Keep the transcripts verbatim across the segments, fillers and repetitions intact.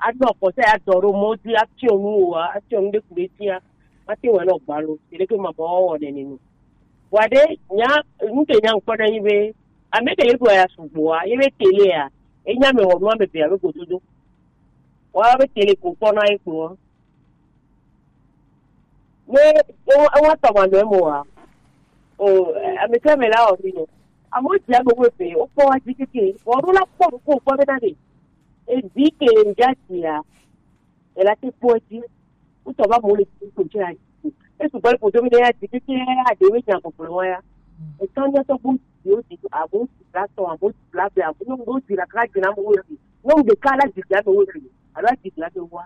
anɔ kɔsɛ adɔ ɖo mɔ dzi afiɔ nu o, afiɔ nu ɖe ku ɖe fia, mate ŋu anɔ gbalo. Tele ke mabɔ wɔ nene nu. Vɔa ɖe nya, nu ke nya ŋkpɔ ɖe nyi be, ame ke le ɖo ya sugboa, ye be tele ya, enya me wɔ nu ame be alo gododo. Wa be tele ko kpɔ na ye kpɔ. Ne ewa tɔ ma nɔ mo wa. O, ame ke me la o mi no. Amo dzi ame wo be, o kpɔ wa dzi keke. Wɔ ɖo la kpɔ ko kpɔ be na de. Evi ke ŋdza sia, ela te kpɔ edzi. Wotɔ va mo le ko dzi la dzi. Esu gbɔ le ƒodo mi ɖe ya dzi keke ya ɖe mi nya gbɔgblɔ wa ya. Etɔ nye tɔ bo dzi o dzi abo dzi la tɔ abo dzi la be abo nyɔnu ɖo dzi la ka dzi na mo wo dzi. Nyɔnu ɖeka la dzi dzi ame wo dzi. Alo dzi dzi ame wa.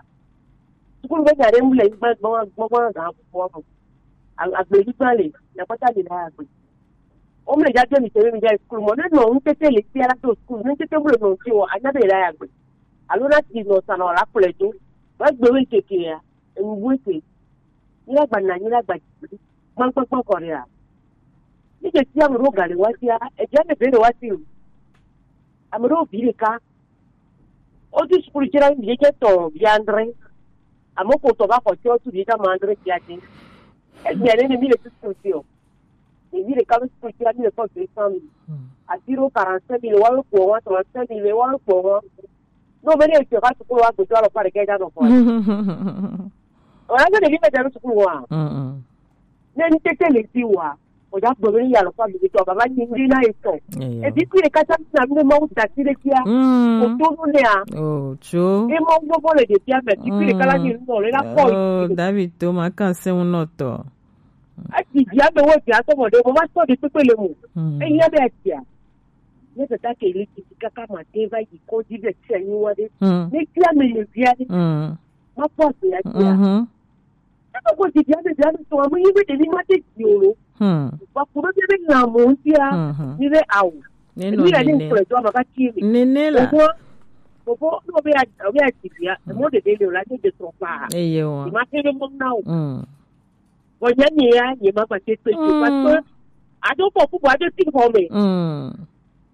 Sukulu be nya ɖe mu le nyigba gbɔ gbɔ gbɔ ga ƒoƒo ame. Agble nyigba le, nya kpata le la agble. Wo mle dza do mi tebe mi dza yi sukulu mɔ. Ne nɔ ŋutete le fia la do sukulu, ne ŋutete mu le nɔ ŋuti o, anya be la ya gbe. Alo na ti nɔ sa nɔ la kplɔe do. Wa gbe we keke ya, enu bu ete. Nyi la gba na, nyi la gba dzi. Gbã gbã gbã kɔ ɖe ya. Ni ke tia me ɖo ga le wa tia, e dza me be ɖe wa ti o. Ame ɖewo vi ɖeka. Wotu sukulu dzi ɖa, vi ɖe tɔ vi andre. Ame ko tɔ va xɔ tsi wotu vi ɖe ma andre fia dzi. Egbea ne mi le sukulu dzi o. Ɖevi ɖeka be sukulu dzi la mi le kɔ deux cent mille. Ati ɖo quarante-cinq mille, wa kpɔ wa trente-cinq mille, wa kpɔ wa. No be ne tɔ va sukulu wa gbetɔ alɔ fa ɖeka dza nɔ kɔ. O ya be ɖevi me dza ɖo sukulu wa. Ne ŋutete le fi wa. O dza gblɔ be ya lɔ fa mi tɔ baba nyi ndi na etɔ. Evi kui ɖeka sa na mi ma wo da si ɖe fia. O to nu ne a. O tso. E ma wo bɔ le ɖevia me vi kui ɖeka la nyi nu le la kɔ. Oh, David to ma kan se ŋu nɔ tɔ. Ati dzi ame wo dzi atɔ mɔ ɖe mo ma sɔ ɖe kpekpe le mo. Eyi be atia. Ne tata ke le titi kaka ma te va yi kɔdzi ɖe tia nyi wa ɖe. Ne ti ame le via ɖe. Ma kpɔ se ya tia. Ebe ko didi ame via ɖe tɔ ame yi be ɖe ni ma te dzi o lo. Wa ku be be na mo tia. Ni be awo. Ne no ni le ni ne. Kplɔ do ma ka ti mi. Ne ne la. Obo, obo no be a be a ti bia. Mo de de le la de de tro pa. Eye wa. Ma te be mo na o. Vɔ nye nye ya nye ma gba te kpe tso parce que ado kpɔ kubu ado ti xɔ me.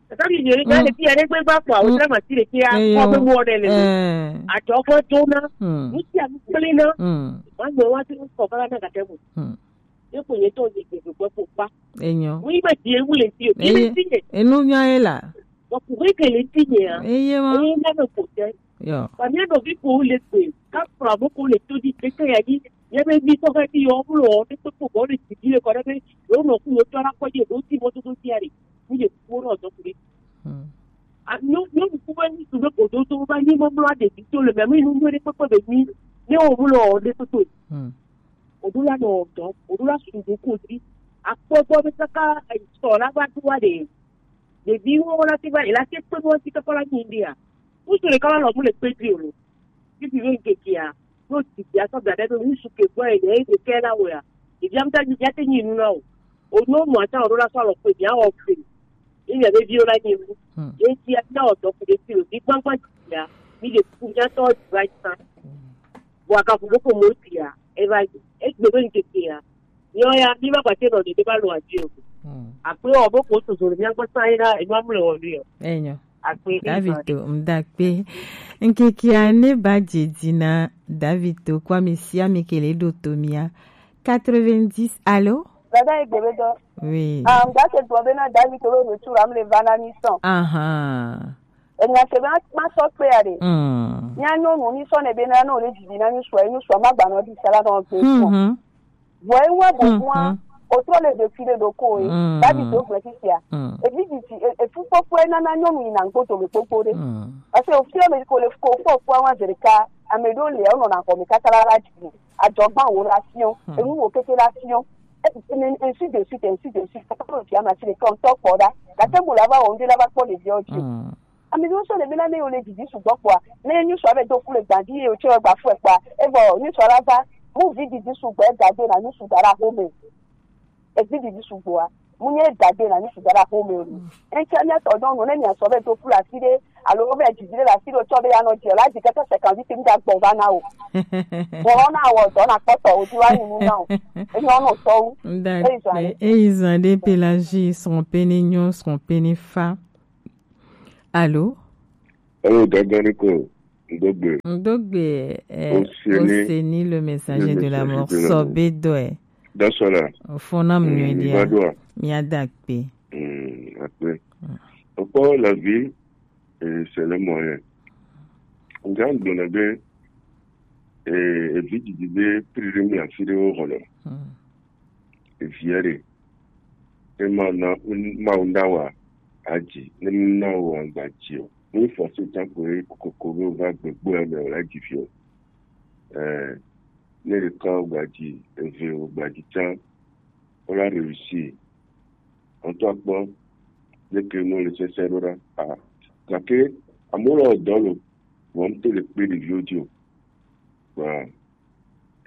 Tata mi nye ya le fi ya ne gbe gba kpɔ awo tra ma ti le fi ya kɔ be mo ne le. Adzɔ kɔ do na. Nu ti a nu kple na. Ma nye wa ti kɔ kala na gate mo. Ye ko ye to ye ke gbe ko pa. Enyo. Mu yi be die wu le fi o. Ki le fi ye. Enu nya ye la. Wa ku ke le fi ye a. Eye ma. Eye na me ko te. Yo. Ba mi no vi ko le pe. Ka pra mo ko le to di ke ke ya di. Ye be mi to ka di yo mu lo de pe ko bo le ti di le ko de be. Yo no ku yo to ra ko ye do ti mo to to ti ari. Ku ye ku ro to ku le. A no no ku ba ni su be ko do to ba ni mo blo de ti to le me mi nu mo de pe ko be ni. Ne o mu lo de pe ko. Oɖo la nɔ dɔ, oɖo la su ɖo ko dzi. Akpɔ gbɔ be kaka sɔ la va do wa ɖe. Ɖeviwo la te va yi la te kpe ɖo ŋuti kaka la nyi ɖia. Ŋutsu ɖeka la lɔ mu le kpe dzi o lo. Fifi be ŋkekea, ɖo didi asɔ da ɖe be ŋutsu ke gbɔ yi ɖe eke la wɔ ya. Ɖevia ŋutɔ didi ate nyi nu na o. O nyɔnu ata oɖo la sɔ alɔ kpe mia wɔ kpe. Ye mia be viwo la nyi nu. Ye ŋuti ya na wɔ dɔ ku ɖe fi o. Di gbagba didi ya. Mi ɖe ku mia tɔ didi wa yi sa. Vɔ agaƒo ɖo ko mo tia eva yi. Egbe be ŋkekea, nyɔ ya, mi va gba te nɔ ɖeɖe va lo adi o. Akpe wɔ be ko soso le mia gbɔ sa yi na enu amle wɔ ɖi o. Enyo. Akpe David to mdakpe. Ŋkekea ne ba dze dzi na David to kwa mi sia mi ke le ɖo to mia. Quatre-vingt-dix, allô? Dada egbe be dɔ. Oui. Ah, mda ke dɔ be na David to lo retour am le va na mi sɔn. Aha. Enya se be ma sɔ kpe ya ɖe. Mm. Mia nyɔnu mi sɔ ne be na no le didi na nyusua, nyusua ma gba no di sala no gbe sɔ. Mhm. Vɔ ewa bo bua, o trɔ le ɖevi ɖe ɖo ko e. Mm. David to gbe sisia. Mm. Evi didi, e, efu kpɔkpɔ e nana nyɔnu yi na ŋkpoto me kpokpo ɖe. Mm. Parce que o fi me ko le ko kpɔkpɔ wa zereka, ame ɖo le o nɔ na xɔ me kaka la la didi. Adzɔgba wo la fiɔ, enu wo keke la fiɔ. Et, et, et ainsi de suite, ainsi de suite. Kaka ɖo fia ma si le kɔn tɔ kpɔ ɖa. Gake mo la va wɔ ŋɖe la va kpɔ ɖeviawo dzi. Mm. Ame ɖewo sɔ le be na ne yewo le didi sugbɔ kpɔa, ne nyɔnu sɔ be do ku le gbadi ye o tsɔ gba fue kpɔa, evɔ nyɔnu sɔ la va, mu vi didi sugbɔ e da de na nyɔnu su da la home. Evi didi sugbɔa, mu nye da de na nyɔnu su da la home o. Eŋtsia mia tɔ nyɔnu ne mia sɔ be do ku le afi ɖe, alo be didi le afi ɖe o tsɔ be ya nɔ dzi o, la dzi keke se kan vi te mi da gbɔ va na o. Bɔ na wɔ dɔ na kpɔtɔ o ti wa nyi nu na o. Enyo no tɔwu. Eyi zan ɖe. Eyi zan ɖe Pelagie srɔ̃ pe ne nyɔ srɔ̃ pe ne fa. Allô? Eyo, dɔgɔni ko. Ndogbe. Ndogbe, eh, Oseni, Oseni, le messager de la mort. Sɔbe dɔe. Dasola. Fona mnyuedia. Miada kpe. Mm, akpe. Okpɔ la vie, eh, c'est le moyen. Nga gblɔna be, eh, evi didi be pri ɖe mi afi ɖewo xɔ le. Evia ɖe. Ne Mawu na, Mawu na wa adzi, ne na wa agba dzi o. Ne force ta ko ye kokoko be wova gbegbe me wòle adzi vi o. Eh, ne ɖeka wògba dzi, eve wògba dzi tsã, wola réussir. Ŋutɔ akpɔ leke nu le sese ɖo ɖa. Ah, gake amewo le dɔ lo, vɔ ŋutɔ le kpe ɖeviwo dzi o. Kpa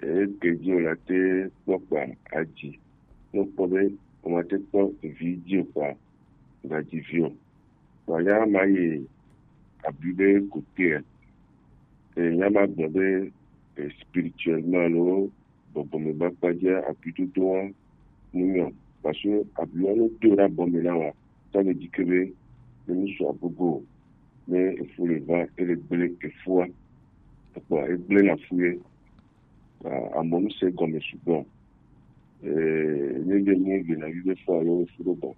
eke dzi o la te kpɔ kpa adzi. Ne kpɔ be o ma te kpɔ vi dzi o kpa, ga dzi vi o. Kpa ya ma yi abi be kote. E ya ma gbɔ be, e, spirituellement lo bɔbɔ me ba kpa dzi abi dodo wa mu nyɔ. Parce que abi wa no do ɖa bɔ me na wa. Ta le dzi ke be ne mi su agogo o, ne efu le va, ele gble efua. Ekpɔ egble na fu ye. Ah, amewo se gɔme sugbɔ. Eh, ne de mi gbe na vive fo alo fu ɖo bɔ.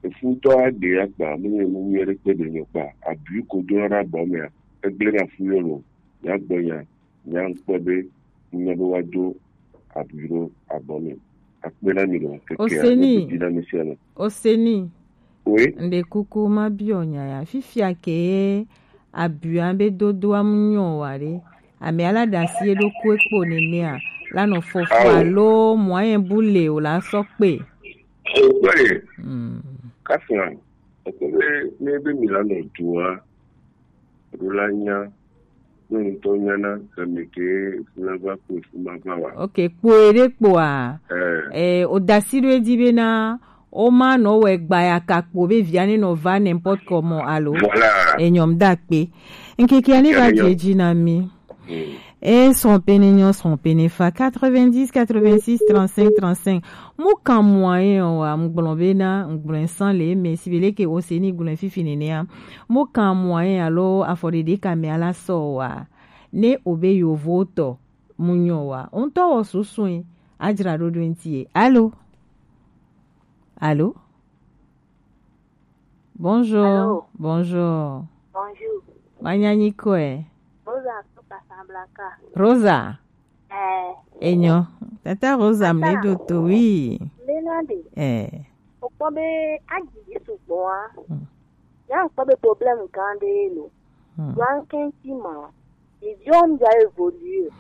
Efu tɔ aɖe akpa, mu ne mu nyuie ɖe kpe ɖe nyɔ kpa. Abi ko do na bɔ mea, egble na fu ye lo. Ya gbɔ nya, ya ŋkpɔ be, nya be wa do abi ɖo abɔ me. Akpe na mi lo, keke Oseni. Akpe na mi sia lo. Oseni. Oui. Nde kuku ma biɔ nya ya. Fifia ke abua be dodoa mu nyɔ wa ɖe. Ame ala ɖe asi eɖokui kpo nenea, la nɔ fɔfɔ alo moyen bu le o la sɔ kpe. Kpe. Mm. Kafia, ekpe be ne be mi la nɔ dua, ɖo la nya, ne ŋutɔ nya na, game ke fu la va kpe fu ma va wa. Ok, kpo eɖe kpoa. Eh. Eh, o dasi ɖo edzi be na, o ma nɔ wɛ gba ya ka kpo be via ne nɔ va n'importe comment alo. Voilà. Enyɔm da kpe. Nkeke ani va dze dzi na mi. Mm. E srɔ̃ pene nyɔ, srɔ̃ pene fa. Quatre-vingt-dix, quatre-vingt-six, trente-cinq, trente-cinq. Mu kan moyen o wa, mu gblɔ be na, mu gblɔ san le me si be leke o se ni gblɔ fifi nenea. Mu kan moyen alo afɔ ɖeɖe ka me ala sɔ wa. Ne o be yovo tɔ, mu nyɔ wa. O ŋutɔ wɔ susue, adzra ɖo ɖo ŋuti ye. Alo? Alo? Bonjour. Allô? Bonjour. Bonjour. Manyanyi kɔe. Rosa to Casablanca. Rosa. Eh. Enyo. Tata Rosa mle do to, oui. Lena de. Eh. O kpɔ be agi Yesu gbɔa. Hmm. Ya kpɔ be problème gã ɖe lo. Hmm. Wa ŋkɛnti ma. Ɖeviwo ŋdza évoluer.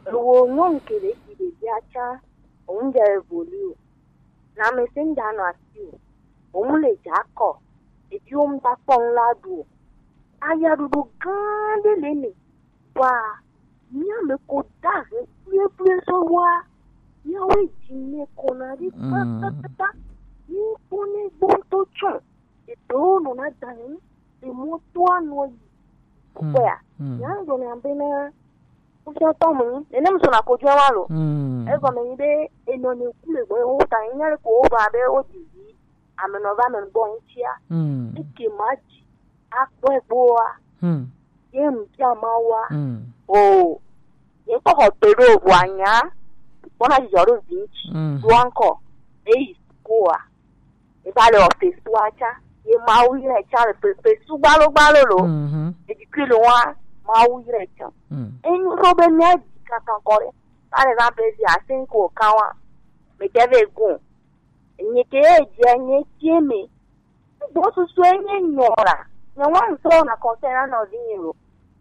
Ewo nyɔnu ke le dzi ɖevia tsã, wo ŋdza évoluer. Lãmesẽ ŋdza nɔ asi o. Wo ŋu le dza kɔ. Ɖeviwo ŋdza kpɔ ŋu la ɖu o. Ayaɖuɖu gã ɖe le me. Wa mía me ko da he kple kple sɔ wa. Míawoe dzi me ko na ɖi kpakpakpakpa. Mí kpɔ ne gbɔ ŋutɔ tsɔ. Eɖewo nɔna da he ŋu. Emɔ to anɔ yi. Kpɔa, ya ŋgblɔ na be na, ŋusẽ tɔ mu, nene mu sɔna ko jɔ wa lo. Egɔme nyi be, enɔ ne ku le gbɔ, wo ta nya le ko wo ba be wo didi, ame nɔ va me gbɔ ŋutia. Eke ma dzi, akpɔ egboa. Ye mu tia ma wa. O, ye kpɔ xɔ to ɖo ʋua nya, kpɔna dzidzɔ ɖo vi ŋuti, ɖo ankɔ, eyi koa. Eva le wɔ fesua tsã. Ye Mawu yɔe tsã le fe-, fesu gbalo gbalo lo. Edikui le wa Mawu yɔe tsã. Enyo so be mía dzi kankan kɔ ɖe. Par exemple, vi asin ko kan wa. Me ke ve gun. Nye ke ye dze nye tie me. Gbɔ susu enye nyɔ la. Nye wa ŋutɔ na conseil na nɔvi nye lo.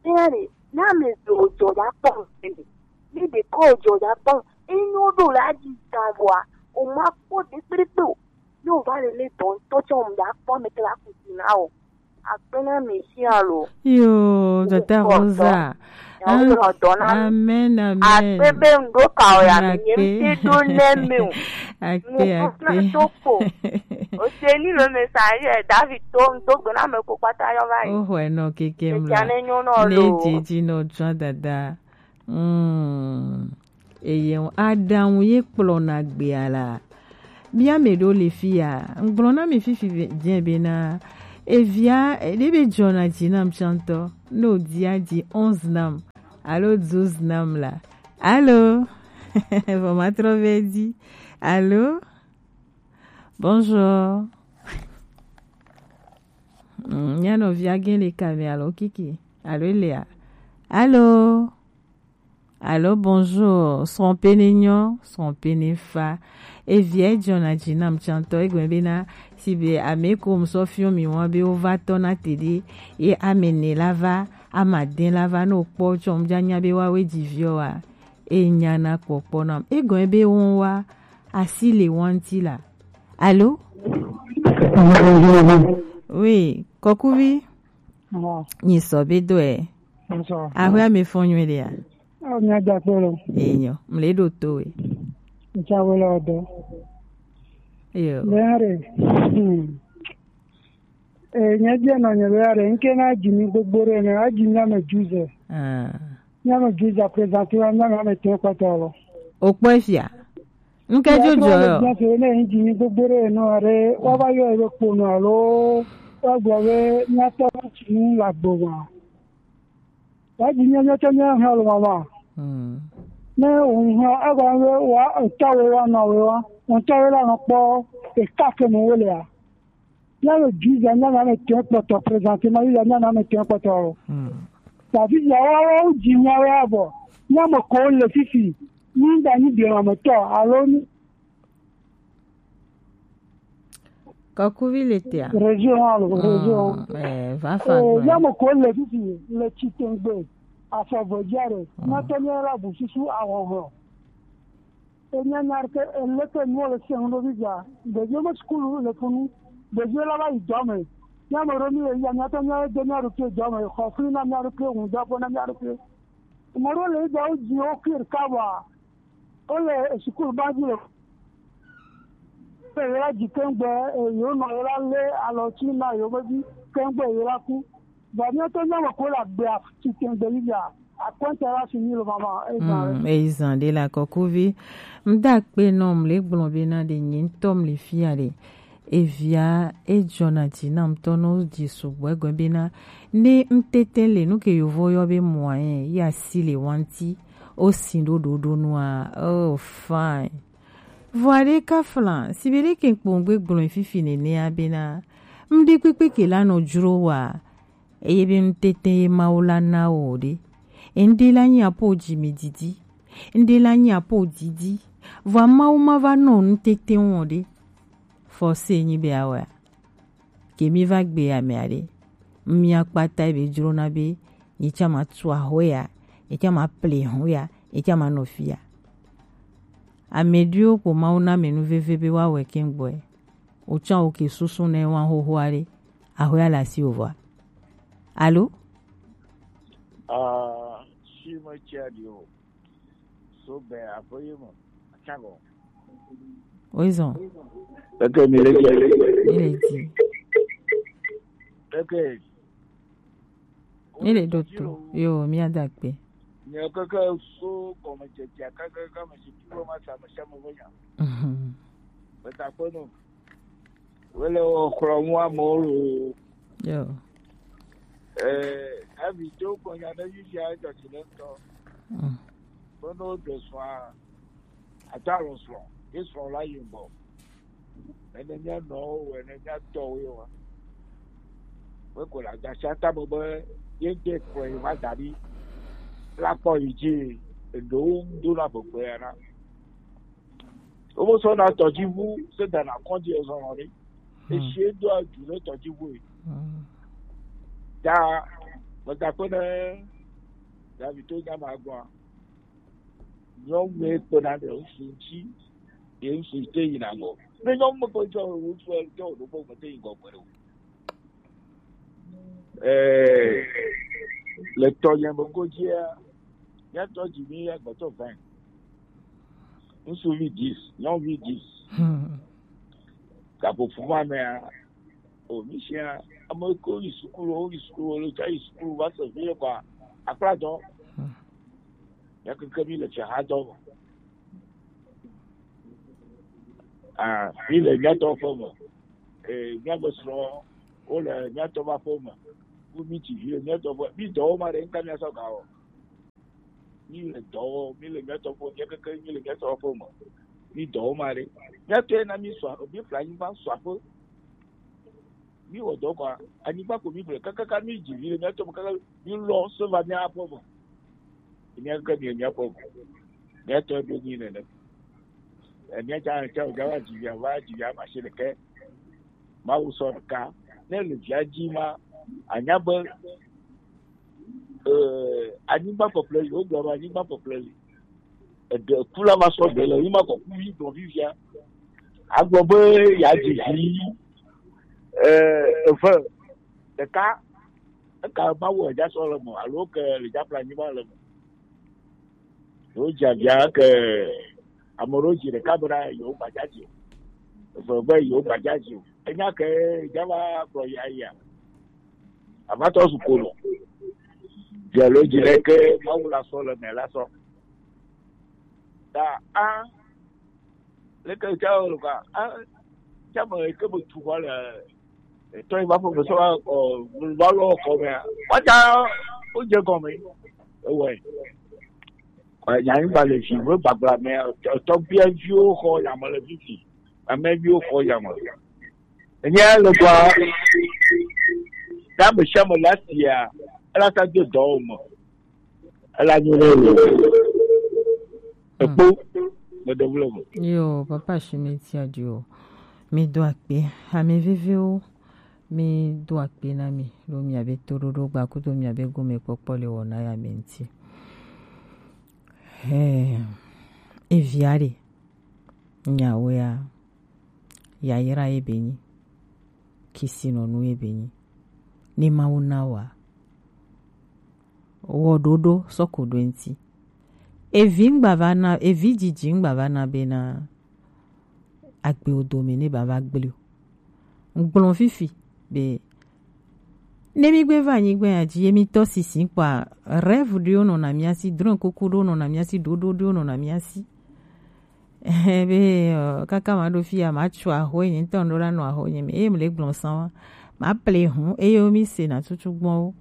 Tia ɖe, na me do dzo ya kpɔ ŋutɔ. Mi ɖe ko dzo ya kpɔ. Enyo ɖo la dzi ta vɔa. O ma kpɔ ɖe kpekpe o. Yo va le le dɔn to tsɔ ŋda kpɔ me kla kuti na o. Akpe na mi si alo. Yo, tata Rosa. Amen, amen. Akpe be ŋdo ka o ya mi nye mi do ne mi o. Akpe, akpe. To kpo. O se ni lo message David to ŋdo gbe na me ko kpata yo va yi. O ho no keke mla. Ne didi no tso dada. Mm. Eye aɖaŋu ye kplɔna gbea la. Mía me ɖewo le fi ya, ŋgblɔ na mi fifi ve-, dze bena, Evia, ɖe be dzɔna dzi nam tsã ŋutɔ. Ne wòdia dzi onze nam alo douze nam la. Alo. Vɔ matrɔ vɛ dzi. Alo. Bonjour. Mm, mía nɔvia gẽ le ka me alo kiki alo elia? Alo. Alo bonjour, srɔ̃ pene nyɔ, srɔ̃ pene fa. Evia edzɔna dzi nam tsã ŋutɔ, egɔme bena, si be ame ko ŋsɔ fiɔ mi wa be wova tɔ na te ɖe, ye ame ne la va, ame ade la va, ne wokpɔ tsɔ ŋdza nya be woawoe dzi viɔ wa, e nyana kpɔkpɔ nam. Egɔme be wo wa, asi le wa ŋuti la. Alo? Oui, kɔkuvi. Nyi sɔ be dɔe. Ahwɛ ame fɔn nyuie ɖea? Ɔ, mía da kpe lo. Enyo, mle ɖo to we. Ntsa we le ɔdɔ. Yo. Bɛare. Hmm. E, nye bia nɔ nye bɛare, nke na dzi mi gbogbo ɖe ne, a dzi mi ame juze. Ah. Mía me juze a présenter wa, mía me ame tɛ kpɔtɔ lo. O kpɔ fia. Nke jojo yo. Bia se ne yin dzi mi gbogbo ɖe no are, wa va yɔ ebe kpo no alo, wa gblɔ be mía tɔ tsi nu la gbo wa. Wa dzi mía mía tɔ mía hã lo mama. Hmm. Ne o hã, a gba be wa, o tɔ we wa, nɔ we wa, o tɔ we la nɔ kpɔ, e ka ke mo we le a. Mía le juze, mía nɔ ame tɛ kpɔtɔ présenter ma, mía nɔ ame tɛ kpɔtɔ o. Hmm. Tafisia wa, wa, wo dzi mía wa bɔ. Mía me ko le fifi. Ni da ni biɔ ame tɔ, alo ni. Kɔkuvi le tea? Région alo, région. Eh, va fa. Eh, mía me ko le fifi, le Tsitengbe. Afɔ vɔ dzi are. Mía tɔ mía la bu susu ahɔhɔ. Enya nya ɖeke, eleke nuwo le se ŋu ɖo fifia. Ɖeviwo me sukulu le funu. Ɖeviwo la va yi dɔ me. Mía me ɖo mí le ya, mía tɔ mía do mía ɖokui dɔ me. Xɔ fli na mía ɖokui, ŋudɔƒe na mía ɖokui. Ame ɖewo le yi dɔ, wo dzi wo kui ɖeka vɔa, wole sukulu ba dzi le. Eye la dzi keŋgbe, eye wonɔ ye la lé alɔ tsi na yewo vevi keŋgbe ye la ku. Vɔ míawo tɔ míawo ko le agbea tsi tɛŋgbe yi ya, akɔnta la si nyi lo mama, eyi zan ɖe. Mm, eyi zan ɖe le akɔkuvi. Ŋda kpe nɔ mle gblɔ be na ɖe nye ŋutɔ mle fia ɖe. Evia edzɔna dzi na ŋutɔ nɔ dzi sugbɔ egɔme be na ne ŋtete le nu ke yovo yɔ be moyen ya si le wanti o si ɖo ɖoɖo nua. Oh, fine. Vɔa ɖe ka fla, si be ɖe ke kpɔn gbe gblɔ fifi nenea be na ŋɖe kpekpe ke la nɔ dzro wa. Eye be ŋutete ye Mawu la na wò ɖe. Ŋɖe la nyi apo dzi mi didi. Ŋɖe la nyi apo didi. Vɔa Mawu ma va nɔ ŋutete wɔ ɖe. Fɔse nyi be awɔa. Ke mi va gbe ame aɖe. Mia kpata be dzro na be, yi tsã ma tu ahoya, yi tsã ma ple hoya, yi tsã ma nɔ fia. Ame ɖiwo ko Mawu na me nu veve be wa wɛ ke gbɔe. Wo tsã wo ke susu ne wa xoxo aɖe. Ahoya le asi wo vɔa. Alo? Ah, si me tsia ɖi o. So be aƒe ye me. Atsa gɔ. Woezɔ. Eke mi le dzi. Mi le dzi. Eke. Mi le ɖo to. Yo, mi ada kpe. Nye keke so gɔmedzedzea kaka kaka me si tuwo ma sa me sa me be nya. Mhm. Meta kpe no. Wole wo xlɔ̃m amewo loo. Yo. Ee, David do gbɔ nya ɖe fifia edzɔ dzi le ŋutɔ. Mm. Be ne woɖe srɔ̃a, ato alɔ srɔ̃, ye srɔ̃ la yi ŋgɔ. Ene mía nɔwo, ene mía tɔwo ye wa. Be ko le agbasia tame be ye de kplɔe va da ɖi la kpɔ yi dzi, eɖewo ŋu dona gbegbe ya na. Womesɔna tɔdziʋu se dana kɔdzi ezɔlɔ ɖe. Hmm. Esie do adu ɖe tɔdziʋu e. Hmm. Ta megakpe ɖe David to nya ma gbɔa. Nyɔnu ye kpena ɖe ŋutsu ŋuti, ye ŋutsu te yina ŋgɔ. Ne nyɔnu me kpe tsɔ ŋutsu tsɔ ɖo kpɔ me te yi ŋgɔ gbe ɖe o. Ɛɛ, le tɔnye me godzia, míatɔ dzi mí agbetɔ vingt. Ŋutsuvi dix, nyɔnuvi dix. Hmm. Gaƒoƒo ma mea, o, mí sia, ame kewo yi sukulu, wo yi sukulu, wo le tsa yi sukulu, va se vi ye kɔa, akpla dɔ. Hmm. Míakeke mí le fiaha dɔ me. Ah, mí le míatɔ ƒe me. Eh, míaƒe srɔ̃, Wole míatɔ ƒe aƒe me. Ku mi tsi vi le míatɔ ƒe, mi dɔwo ma ɖe ŋka míasɔ ga wɔ. Mi le dɔ wɔ, mi le míatɔ ƒe, mía keke mi le míatɔ ƒe me. Mi dɔwo ma ɖe. Míatɔe na mi sɔ, mi ƒle anyigba sɔ aƒe. Mi wɔ dɔ kɔa, anyigba ko mi ƒle, kakaka mi dzi vi le míatɔ me, kaka mi lɔ se va mía aƒe me. Mía ke mía mía ƒe ʋu. Mía tɔ ɖo nyi nene. Mía tsa tsa o dza va dzi via va dzi via ma se ɖeke. Mawu sɔ ɖeka. Ne le via dzi ma, anya be eh, anyigba ƒeƒle li, wogblɔ be anyigba ƒeƒle li. Eɖe ku la va sɔ ɖe le yi ma kɔ ku yi gbɔ vivia. Agblɔ be ya dzi vi eh, eve ɖeka. Eka Mawu edza sɔ le me alo ke le dza ƒle anyigba le me. Yewo dze avia ke ame ɖewo dzi ɖeka bena yewo gbadza dzi o. Eve be yewo gbadza dzi o. Enya ke dza va gblɔ ya ya. Avatɔ zu kolo. Dze lo dzi ɖe ke Mawu la sɔ le me la sɔ. Ta a leke tsa o ka a tsa me ke be tu xɔ le etɔ yi va fɔ me sɔ va kɔ va lɔ kɔ me a. Wa tsa o dze gɔme. Ewɔe. Nyanyigba le vi, wo gbagblame, tɔgbuiviwo xɔ yame le vivi, ameviwo xɔ yame. Enye le gɔa, ne ame sia ame le asia, ela sa do dɔ wo me, ela nyo ne wo. Ekpo, meɖe wu le me. Yo, papa Shimeti adio, mi do akpe, ame viviwo, mi do akpe na mi, lo mi abe toɖoɖo gba kudo mi abe gome kpɔkpɔ le wɔna ya me ŋuti. Hɛn, evia ɖe, nyawo ya, yayra ye be nyi, kisinɔnu ye be nyi, ne Mawu na wa, wɔ ɖoɖo sɔ ko ɖo eŋuti. Evi ŋgba va na, evi dzidzi ŋgba va na be na agbewo dome ne bava gblẽ o. Ŋgblɔ fifi be ne mi gbe va anyigba ya dzi, ye mi tɔ sisi kpɔa, rêve ɖewo nɔna mia si, drɔ̃ kuku ɖewo nɔna mia si, ɖoɖo ɖewo nɔna mia si. Be ɔ, kaka ma ɖo fi ya, ma tso aho nye ŋutɔ ŋɖo la nɔ aho nye me, eye mle gblɔ san wa, ma ple hu, eye wo mi se na tutu gbɔn wo.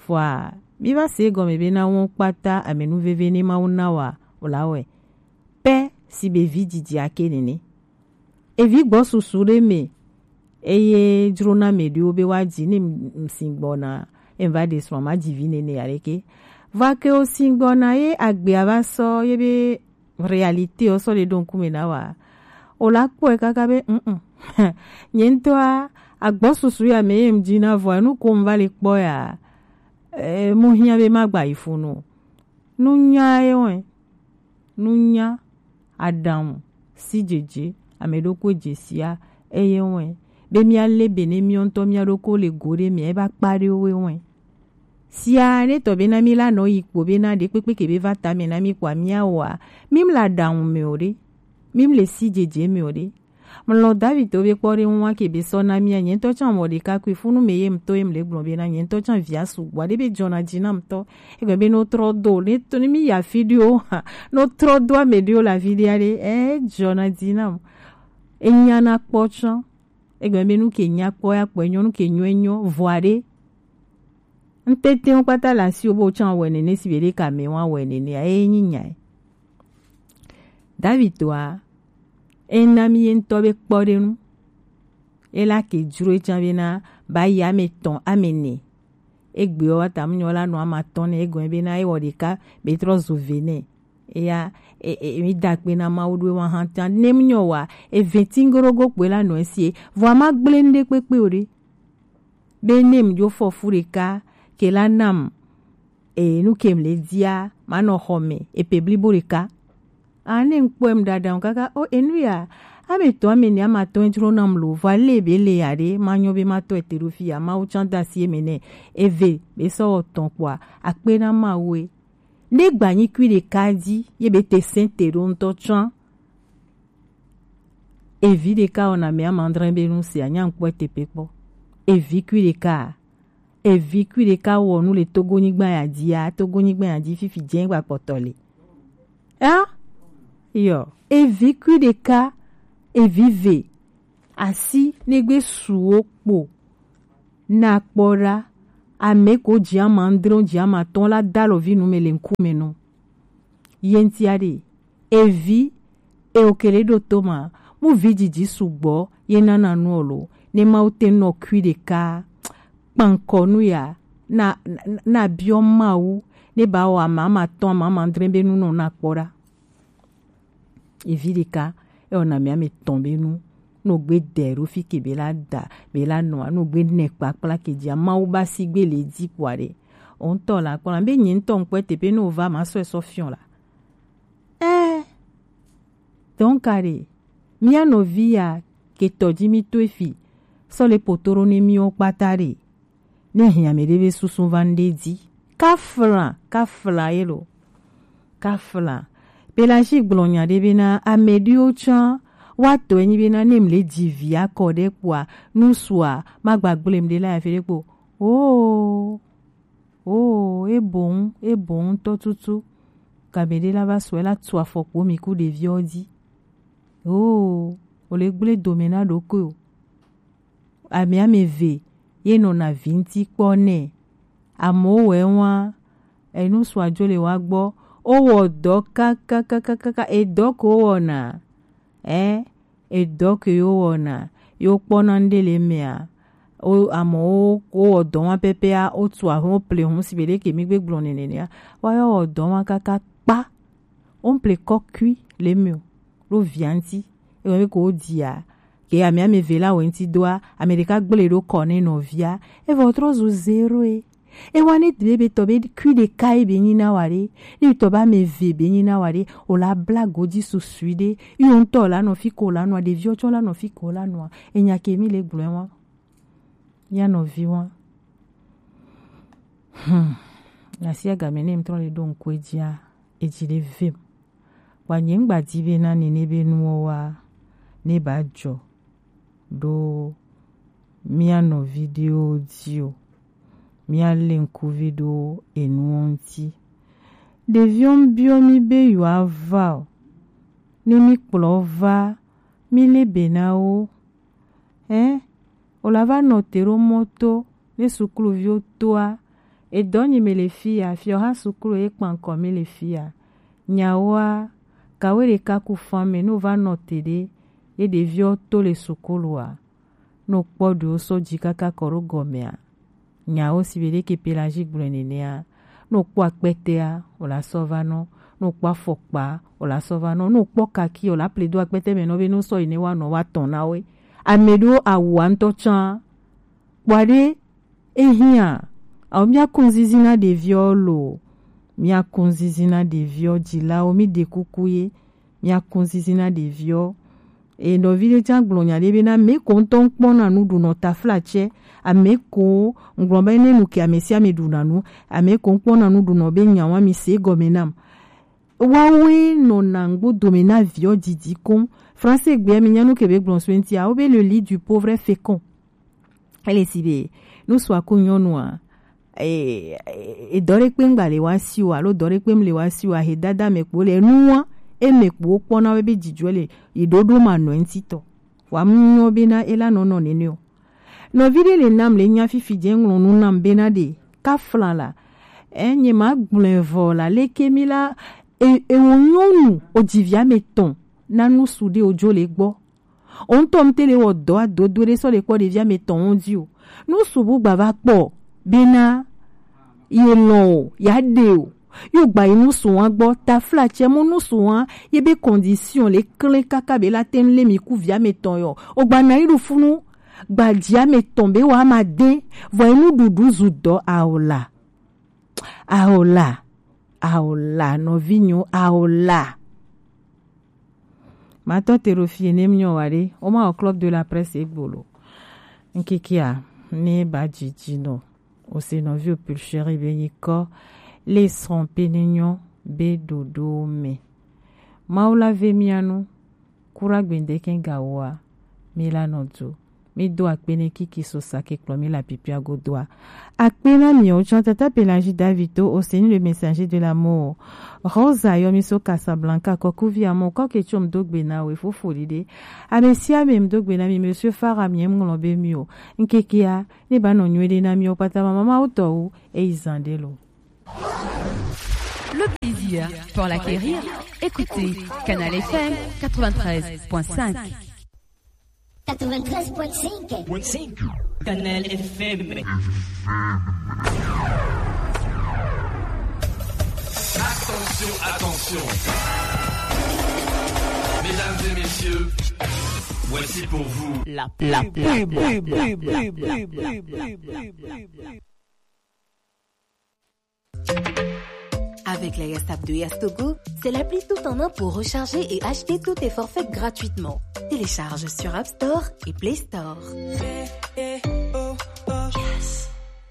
Fɔa, mi va se gɔme be na wo kpata ame nu veve ne Mawu na wa, o la wɛ. Pɛ si be vi dzidzi ake nene. Evi gbɔ susu ɖe me, eye dzro na me ɖewo be woadzi ne m-, m-, si gbɔna, em va ɖe srɔ̃ ma dzi vi nene aɖeke. Vɔ ke wo si gbɔna ye agbea va sɔ ye be réalité wo sɔ ɖe ɖo ŋkume na wa. O la kpɔe kaka be, mm, mm. Nye ŋutɔa, agbɔsusu ya me ye m dzi na vɔa, nu ko m va le kpɔ ya, eh, mu hiã be ma gba yi fu nu. Nunya ye wɛ. Nunya, aɖaŋu, sidzedze, ame ɖokui dzesia, eye wɛ. Be mía le be ne mía ŋutɔ mía ɖokui le go ɖe mea, eba kpa ɖe wo wɛ. Sia ne tɔ be na mi la nɔ yi kpo be na ɖe kpekpe ke be va ta me na mi kpoa mía wa. Mi mla ɖaŋu me o ɖe. Mi mle sidzedze me o ɖe. Mlɔ David to be kpɔ ɖe ŋua ke be sɔ na mía nye ŋutɔ tsã mɔ ɖeka kui funu me ye ŋutɔ ye mle gblɔ be na nye ŋutɔ tsã via sugbɔ ɖe be dzɔna dzi na ŋutɔ. Egbe be no trɔ do, ne to, ne mi ya fi ɖewo ha, no trɔ do ame ɖewo la vi ɖe aɖe, eh, dzɔna dzi na ŋu. Enya na kpɔ tsã. Egbe be nu ke nya kpɔ ya kpɔ, enyo nu ke nyo enyo, vɔ aɖe. Ŋtete ŋu kpata le asiwò be wotsã wɔ nene si be ɖeka me wa wɔ nene, eye nyi nyae. David toa, ena mi ye ŋutɔ be kpɔɖenu. Ela ke dzro etsã be na ba yi ame etɔ̃, ame ene. Egbeɔ wa ta mu nyɔ la nɔ ame atɔ̃ nɛ, egɔme be na ewɔ ɖeka be trɔ zu ve nɛ. Eya, e, e, mi da akpe na Mawu ɖo ewa hã ta. Ne mu nyɔ wa, eve tingoɖogo kpoe la nɔ esie. Vɔa ma gblẽ nu ɖe kpekpe o ɖe. Be ne mu dzo fɔ fu ɖeka, ke la nam, e, nu ke mu le dia, ma nɔ xɔ me, epe blibo ɖeka. A ne ŋkpɔe mu ɖaɖa ŋu kaka, o, enu ya, ame etɔ̃, ame ene, ame atɔ̃ dzro nam lo, vɔa le be le ya ɖe, ma nyɔ be ma tɔ ete ɖo fi ya, Mawu tsã da asi eme nɛ, eve, be sɔ wɔ tɔ̃ kpoa, akpe na Mawu e. Ne gba nyi kui ɖeka dzi, ye be te sɛn te ɖo ŋutɔ tsã. Evi ɖeka wɔna ame ama adre be nu sia, nya ŋkpɔe teƒe kpɔ. Evi kui ɖeka, evi kui ɖeka wɔ nu le Togonyigba ya dzia, Togonyigba ya dzi fifi dze gba kpɔtɔ le. Ɛ? Yɔ, evi kui ɖeka, evi ve, asi negbe suwo kpo. na kpɔ ɖa, ame ko ji ama adre, ji ama atɔ̃ la da alɔvi nu me le ŋkume nɔ. Ye ŋuti aɖe, evi, e o kele ɖo to ma, mu vi dzidzi sugbɔ ye nana nu ɔ lo, ne Mawu te nɔ kui ɖeka kpankɔ nu ya, na, na, na biɔ Mawu, ne ba wɔ ama ama atɔ̃, ama ama adre be nu nɔ na kpɔ ɖa. Evi ɖeka, e wɔna mi ame tɔ̃ be nu, no gbe de ɖo fi ke be la da, be la nɔa, no gbe nɛ kpakpla ke dzia, Mawu ba si gbe le di kpɔa ɖe. O ŋutɔ la kpɔ la, be nye ŋutɔ ŋkpɔ teƒe no va ma sɔe sɔ fiɔ la. Eh, donc aɖe, mía nɔvi ya ke tɔ dzi mi to efi, sɔ le potoro ne miwo kpata ɖe. Ne hiã mɛ ɖe be susu va ŋɖe dzi. Kafla, kafla ye lo. Kafla. Pelagie gblɔ nya ɖe bena ame ɖewo tsã woatɔe nyi bena ne mle dzi vi akɔ ɖe kpoa, nusua magba gblem ɖe la yafe ɖe kpo. Oh, oh, eboŋ, eboŋ ŋutɔ tutu. Game ɖe la va sɔe la tu afɔ kpo mi ku ɖeviwo dzi. Oh, o le gblẽ dome na ɖokui o. Ame ame eve ye nɔna vi ŋuti kpɔ nɛ. Amewo wɔe wa, enu sua dzo le wa gbɔ. Wowɔ dɔ kakakakaka, edɔ ko wowɔna. Ɛ, edɔ ke yo wɔna, yo kpɔna ŋɖe le mea. O, amewo wowɔ dɔ wa pɛpɛa, wotu aho ple ho si be ɖe ke mi gbe gblɔ nene nea. Wa yo wɔ dɔ wa kaka kpa. Wo ŋple kɔ kui le eme o, ɖo via ŋuti. Ewɔ be ko wodia, ke ame ame eve la wɔ ŋuti doa, ame ɖeka gblẽ ɖo kɔ ne nɔvia. Evɔ trɔ zu zero e. Ewa ne de be tɔ be kui ɖeka ye be nyi na wa ɖe, ne tɔ be ame eve be nyi na wa ɖe, o la bla godzi susui ɖe, yo ŋutɔ la nɔ fi ko la nɔa, ɖeviwo tsɔ la nɔ fi ko la nɔa, enya ke mi le gblɔe wa. Mía nɔvi wa. Hmm. Asiagame ne ŋtrɔ le ɖo ŋku edzia, edzi le vem. Wa nye ŋgba di be na nene be nuwo wa ne ba dzɔ ɖo mía nɔvi ɖewo dzi o. Mía le ŋkuvi ɖo enuwo ŋuti. Ɖeviwo ŋ biɔ mi be yewoa va o. Ne mi kplɔ va, mi le be na wo. Ɛ, o la va nɔ te ɖo mɔ to ne sukluviwo toa, edɔ nyi me le fi ya, fiɔ ha suklu ye kpankɔ mi le fi ya. Nyawoa, kawe ɖeka ku fan me ne o va nɔ te ɖe ye ɖeviwo to le sukulua, ne o kpɔ ɖewo sɔ dzi kaka kɔ ɖo gɔmea, nyawo si be ɖeke Pelagie gblɔe nenea, ne o kpɔ akpɛtɛa, o la sɔ va nɔ, ne o kpɔ afɔkpa, o la sɔ va nɔ, ne o kpɔ kaki, o la ple do akpɛtɛ me nɔ be ne o sɔ yi ne wa nɔ wa tɔn na we. Ame ɖewo awua ŋutɔ tsã. Kpɔa ɖe, ehiã, ao mía kun zizi na ɖeviwo lo, mía kun zizi na ɖeviwo dzilawo, mi ɖe kuku ye, mía kun zizi na ɖeviwo. E nɔvi ɖe tsã gblɔ nya ɖe be na ame ko ŋutɔ ŋkpɔna nu ɖunɔ taflatsɛ, ame ko ŋgblɔ be ne nu ke ame sia ame ɖuna nu, ame ko ŋkpɔna nu ɖunɔ be nyawa mi se gɔme nam. Wawoe nɔna ŋgbo dome na viwo didi koŋ. Français gbea mi nya nu ke be gblɔ so ŋutia, wo be le lit du pauvre est fécond. Ele si be, nu sua ku nyɔnua, e, e, edɔ ɖe kpe ŋgba le wa si o, alo dɔ ɖe kpe ŋle wa si o, ahe dada me kpo le nua, eme kpo wo kpɔna wo be dzidzɔ le, yi ɖoɖo ma nɔ ŋuti tɔ. Wa mu nyɔ be na ela nɔ nɔ nene o. Nɔvi ɖe le nam le nya fifi dze ŋlɔ nu nam be na ɖe, ka flan la, e, nye ma gblɔe vɔ la, leke mi la, e, e wo nyɔnu, o dzivia me tɔn, na nu su ɖe o dzo le gbɔ. O ŋutɔ ŋute le wɔ dɔ adodo ɖe sɔ le kpɔ ɖevia me tɔn wo dzi o. Nu subu gba va kpɔ bena ye lɔn o, ya ɖe o. Yo gba yi nu su wa gbɔ, taflatsɛ mo nu su wa, ye be condition le klẽ kaka be la te ŋu le mi ku via me tɔn yɔ. O gba na yi ɖu funu, gba dzia me tɔn be wa ma de, vɔ yi nuɖuɖu zu dɔ aola. Aola, aola, nɔvinyo, aola. Matɔ te ɖo fie ne mnyɔ wa ɖe, o ma o club de la presse egbolo. Ŋkekea, ne ba dzidzi nɔ, o se nɔvi o pulcheri be yi kɔ, le srɔ̃ pe ne nyɔ be ɖoɖo me. Mawu la ve mia nu, kura gbendeke gawoa, mi la nɔ do. Mi do akpe ne kiki so sa ke kplɔ mi le apipia godo a. Akpe na mi o, tsɔ tata Pelagie David to Oseni le Messager de l'amour. Rosa yɔ mi so Casablanca, kɔkuvi amour, kɔ ke tso mi do gbe na we fofo ɖiɖe. Ame sia ame mi do gbe na mi, Monsieur Farah mi ŋlɔ be mi o. Ŋkekea, ne ba nɔ nyuie ɖe na mi o, pata mama ma wotɔ wu, eyi zan ɖe lo. Le plaisir pour l'acquérir, écoutez Canal F M quatre-vingt-treize point cinq. Quatre-vingt-treize point cinq. Canal F M. Attention, attention. Mesdames et messieurs, voici pour vous la pub. Avec la Yastap de Yastogo, c'est l'appli tout en un pour recharger et acheter tous tes forfaits gratuitement. Télécharge sur App Store et Play Store.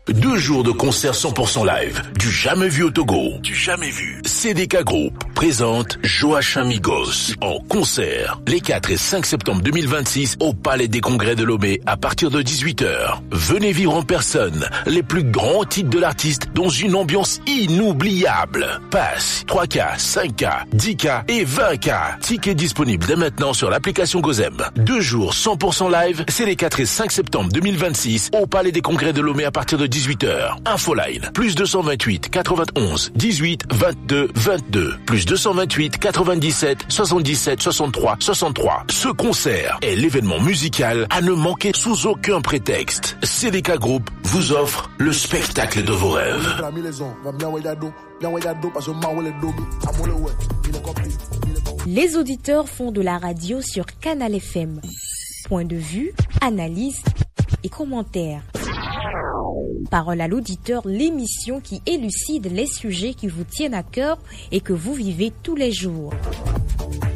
Deux jours de concert cent pour cent live, du jamais vu au Togo, du jamais vu. C D K Group présente Joachim Migos en concert les quatre et cinq septembre deux mille vingt-six au Palais des Congrès de Lomé à partir de dix-huit heures. Venez vivre en personne les plus grands titres de l'artiste dans une ambiance inoubliable. Pass trois K, cinq K, dix K et vingt K. Tickets disponibles dès maintenant sur l'application Gozem. Deux jours cent pour cent live, c'est les quatre et cinq septembre deux mille vingt-six au Palais des Congrès de Lomé à partir de dix-huit heures. Infoline, plus deux cent vingt-huit quatre-vingt-onze dix-huit vingt-deux vingt-deux, plus deux cent vingt-huit quatre-vingt-dix-sept soixante-dix-sept soixante-trois soixante-trois. Ce concert est l'événement musical à ne manquer sous aucun prétexte. C D K Group vous offre le spectacle de vos rêves. Les auditeurs font de la radio sur Canal F M. Point de vue, analyse et commentaires. Parole à l'auditeur, l'émission qui élucide les sujets qui vous tiennent à cœur et que vous vivez tous les jours.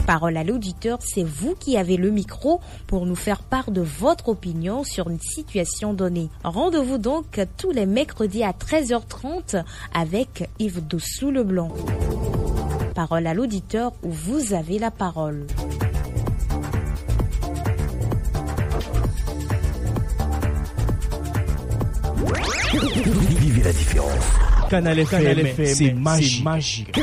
Parole à l'auditeur, c'est vous qui avez le micro pour nous faire part de votre opinion sur une situation donnée. Rendez-vous donc tous les mercredis à treize heures trente avec Yves Dossou Leblanc. Parole à l'auditeur, où vous avez la parole. Vivez la différence. Canal F M, c'est magique.